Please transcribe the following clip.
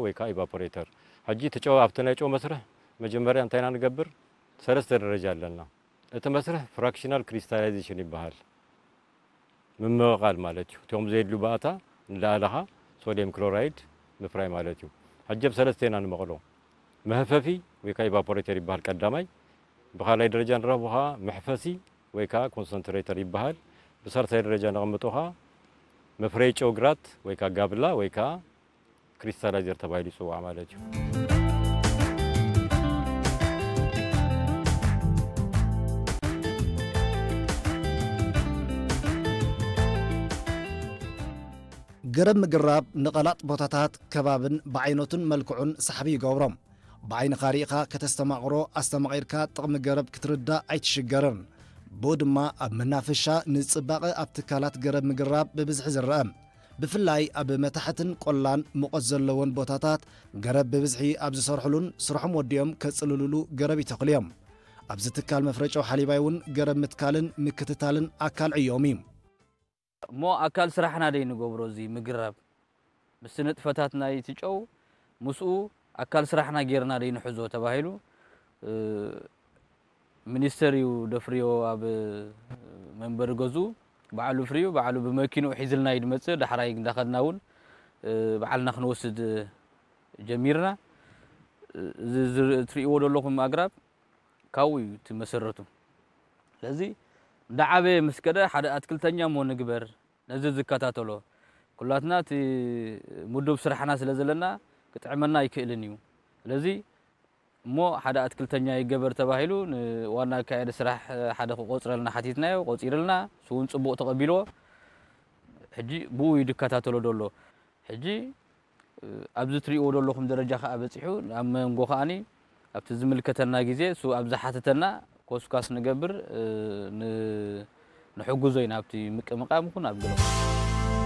ወይ ከዓ ኢቫፖሬተር። ሕጂ እቲ ጨው ኣብቲ ናይ ጨው መስርሕ መጀመርያ እንታይ ኢና ንገብር? ሰለስተ ደረጃ ኣለና። እቲ መስርሕ ፍራክሽናል ክሪስታላይዜሽን ይበሃል። ምምቕቓል ማለት እዩ። እቶም ዘየድሉ ባእታ እንዳኣለኻ ሶድየም ክሎራይድ ምፍራይ ማለት እዩ። ሕጂ ኣብ ሰለስተ ኢና ንመቕሎ። መህፈፊ ወይ ከዓ ኢቫፖሬተር ይበሃል ቀዳማይ። ብኻልኣይ ደረጃ ንረኽቦ ከዓ መሕፈሲ ወይ ከዓ ኮንሰንትሬተር ይበሃል። ብሳልሳይ ደረጃ ነቐምጦ ከዓ መፍረይ ጨው ግራት ወይ ከዓ ጋብላ ወይ ከዓ ክሪስታላይዘር ተባሂሉ ይፅዋዕ ማለት እዩ። ገረብ ምግራብ ንቐላጥ ቦታታት ከባብን ብዓይነቱን መልክዑን ሳሕቢ ይገብሮም። ብዓይንኻ ርኢኻ ከተስተማቕሮ ኣስተማቒርካ ጥቕሚ ገረብ ክትርዳእ ኣይትሽገርን። ብኡ ድማ ኣብ መናፈሻ ንጽባቐ ኣብ ትካላት ገረብ ምግራብ ብብዝሒ ዝረአ። ብፍላይ ኣብ መታሕትን ቆላን ሙቐት ዘለዎን ቦታታት ገረብ ብብዝሒ ኣብ ዝሰርሕሉን ስርሖም ወዲኦም ከጽልልሉ ገረብ ይተኽሉ እዮም። ኣብዚ ትካል መፍረጨው ሓሊባይ እውን ገረብ ምትካልን ምክትታልን ኣካል ዕዮም እዩ። እሞ ኣካል ስራሕና ደይ ንገብሮ እዚ ምግራብ ምስቲ ንጥፈታት ናይ እቲ ጨው ምስኡ ኣካል ስራሕና ጌርና ደይ ንሕዞ ተባሂሉ ሚኒስተር እዩ ደፍርዮ ኣብ መንበሪ ገዝኡ ባዕሉ ፍርዩ ባዕሉ ብመኪንኡ ሒዝልና እዩ ድመፅእ። ዳሕራይ እንዳኸድና እውን ባዕልና ክንወስድ ጀሚርና። እዚ ትርእይዎ ዘለኹም ኣግራብ ካብኡ እዩ እቲ መሰረቱ። ስለዚ እንዳዓበየ ምስ ከደ ሓደ ኣትክልተኛ እሞ ንግበር ነዚ ዝከታተሎ። ኩላትና እቲ ምዱብ ስራሕና ስለ ዘለና ክጥዕመና ኣይክእልን እዩ። ስለዚ እሞ ሓደ ኣትክልተኛ ይገበር ተባሂሉ ንዋና ኣካያዲ ስራሕ ሓደ ክቆፅረልና ሓቲትናዮ፣ ቆፂርልና። እሱ እውን ፅቡቕ ተቐቢልዎ። ሕጂ ብኡ እዩ ዝከታተሎ ዘሎ። ሕጂ ኣብዚ ትሪእዎ ዘለኹም ደረጃ ከዓ በፂሑ ኣብ መንጎ ከዓኒ ኣብቲ ዝምልከተና ግዜ እሱ ኣብ ዝሓተተና ኮስኳስ ንገብር ንሕግዞ ኢና ኣብቲ ምቅምቃም ይኹን ኣብ ገለ